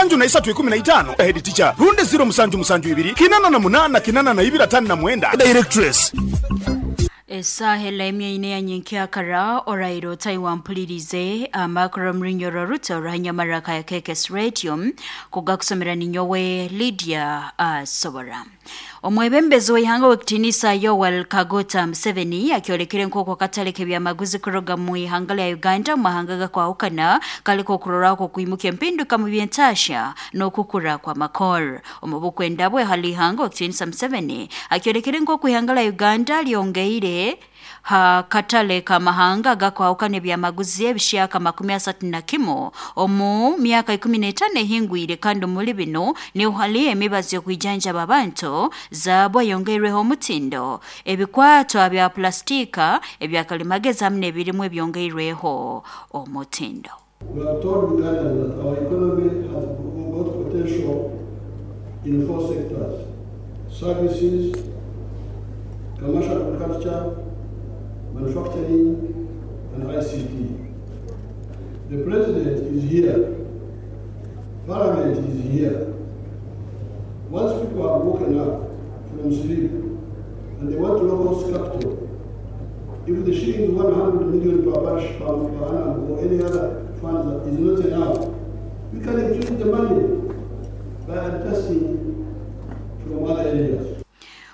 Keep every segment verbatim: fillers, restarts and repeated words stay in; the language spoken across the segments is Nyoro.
Musanju na isatu ikumi na itaano head teacher runde zero musanju musanju ibiri kinana na munana kinana na ibiri atano na mwenda directress. Esahela emyeine ya nyenkyakara orairo taiwampulirize amakuru mrinyoro ruto rahanyamaraka ya K K S Radio kugakusomera ninyowe Lydia uh, Sobora. Omwebembezi w'ihanga w'ekitinisa Yoweri Kaguta Museveni akyolekere nk'oku akatale k'ebyamaguzi kuruga mu ihanga lya Uganda mu mahanga gakwahukana kaliko okurorako okwimuka empinduka mu byentasha n'okukura kwa makor. Omu bukwenda bwe hali ihanga w'ekitinisa Museveni akyolekere nk'oku ihanga lya Uganda lyongeire ha katale kamahanga gakwahukana ebyamaguzi ebishyaka makumi asatu na kimu omu myaka ikumi n'etaano ehingwire, kandi omuri bino niho hali emibazi y'okwijanjaba abantu zaabwa yongeirweho omutindo, ebikwatwa bya pulastika ebyakalimagezi hamwe n'ebirimu ebyongeirweho omutindo. We have told Ugandans that our economy has got potential in four sectors: services, commercial agriculture, manufacturing, and I C T. The President is here. Parliament is here. Once people have woken up from sleep and they want to local capital, if the shilling one hundred million per parish per, per annum or any other fund that is not enough, we can increase the money by adjusting from other areas.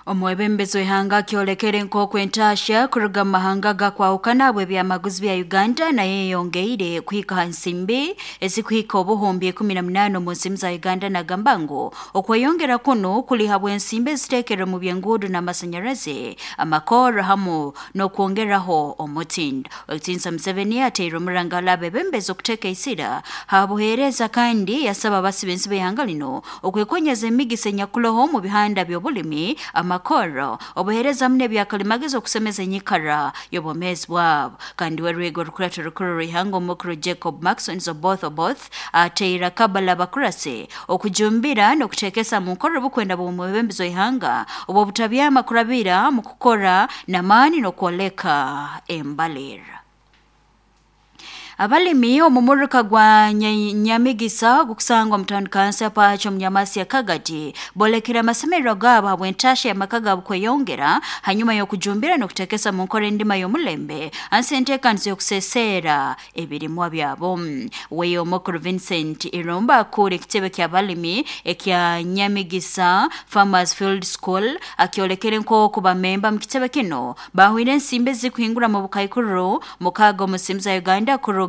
Omwebembezi w'ihanga akyolekere nk'oku entasha kuruga mu mahanga gakwahukana habw'ebyamaguzi bya Uganda naye yongeire kuhika ha nsimbi ezikuhika obuhumbi ikumi na munaana omu nsimu za Uganda, nagamba ngu okweyongera kuno kuli habw'ensimbi eziteekerwe mu by'enguudo n'amasanyarazi, amakoro hamu n'okwongeraho omutindo. Owekitinisa Museveni ateire omurangala abebembezi okuteeka isira ha buheereza kandi yasaba abasibe b'ihanga lino okwekonyeza emigisa enyakuloho mu bihanda by'obulimi, amakoro, obuheereza hamwe n'ebyakalimagezi okusemeza enyikara y'obwomeezi bwabo. Kandi werwego rukurato rukuru rw'ihanga omukuru Jacob Maxon Oboth Oboth ateire akabala abakurasi okujumbira n'okuteekesa mu nkora obukwenda bw'omwebembezi w'ihanga obw'obutabyama kurabira mu kukora n'amaani n'okwoleka embalira. Abalimi omumuruka gwa Nyamigisa gukusangwa mutandika pacho Mnyamasi ya Kagati bolekera amasemerero gabo habw'entasha y'amaka gabo kweyongera hanyuma y'okujumbira n'okutekesa mu nkora endima y'omulembe ansi enteekanizo y'okuseseera ebirimwa byabo. Weyo omukuru Vincent Irumba akura ekitebe ky'abalimi ekya Nyamigisa Farmers Field School akyolekere nk'oku bamemba mu kitebe kino bahwire ensimbi ezikuhingura mu bukaikuru mukaaga omu nsimu za Uganda kuruga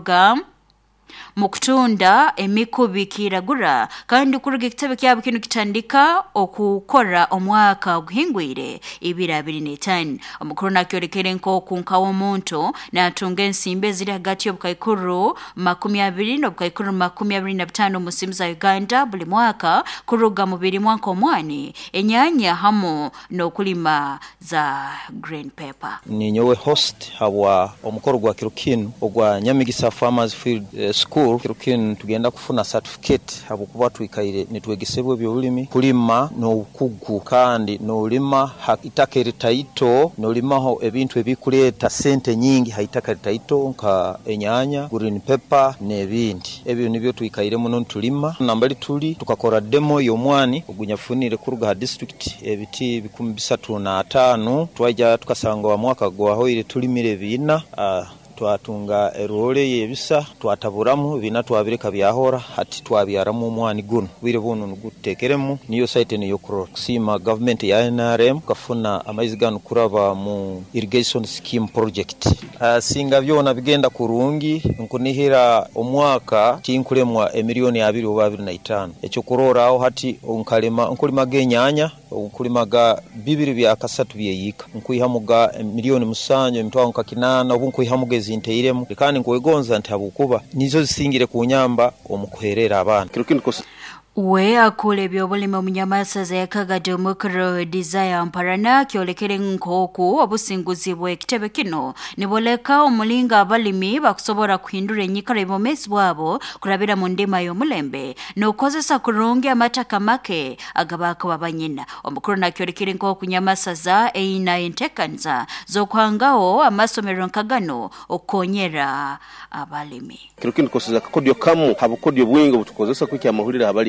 mukutunda emikubi kiragura, kandi kuruga ekitebe kyabo kino kitandika okukora omwaka oguhingwire ibiri abiri n'etaano. Omukuru nakyolekere nk'oku nk'omuntu natunga ensimbi eziri hagati y'obukaikuru makumi abiri n'obukaikuru makumi abiri na bitaano omu nsimu za Uganda buli mwaka kuruga mu birimwa nk'omwani, enyanya hamu n'okulima za green pepper. Ninyowe host habwa omukoro gwa kiro kinu ogwa Nyamigisa Farmers Field eh, School. Kiro kinu tugenda kufuna certificate habwokuba twikaire nitwegesebwa ebyobulimi, kulima n'obukugu, kandi n'olima ha itaka eritaito, n'olimaho ebintu ebikuleeta sente nyingi ha itaka eritaito nka enyanya, green pepper n'ebindi. Ebyo nibyo twikaire muno nitulima. Nambali tuli tukakora demo y'omwani ogunyafunire kuruga ha district ebiti bikumi bisatu na ataano, twaija tukasanga wa mwaka gwahoire tulimire biina uh, twatunga erole yebisa twataburamu bina twabireka byahora hati twabyaramu omwani guno bwire buno nugutekeremu niyo site niyo kurora kusima government ya N R M kafuna amaizi gano kuraba mu irrigation scheme project. Uh, singa byona bigenda kurungi nkunihira omwaka tinkulemwa emiliyoni abiri oba abiri na itaano. Ekyo kurora aho hati onkalema nkulimaga enyanya nkulimaga bibiri bya kasatu byeyika nkuihamuga miliyoni musanju emitwaro nka kinana obu nkuihamuga ezinteiremu, kandi nkwegonza nti habwokuba nizo zisingire kunyamba omukuherera abaana. We akule ebyobulimi omunyamasaza ya Kagadi omukuru Desire Mparana kyolekere nk'oku obusinguzi bw'ekitebe kino niboleka omulinga abalimi bakusobora kuhindura enyikara y'obwomeezi bwabo kurabira mu ndima y'omulembe n'okukozesa kurungi amataka make agabakuba banyina. Omukuru nakyolekere nk'oku Nyamasaza eyina enteekaniza z'okuhangaho amasomero nka gano okukonyera abalimi. Kiro kinu tukozesa akakodyo kamu habukodyo bwingi obutukozesa kwikya amahurire.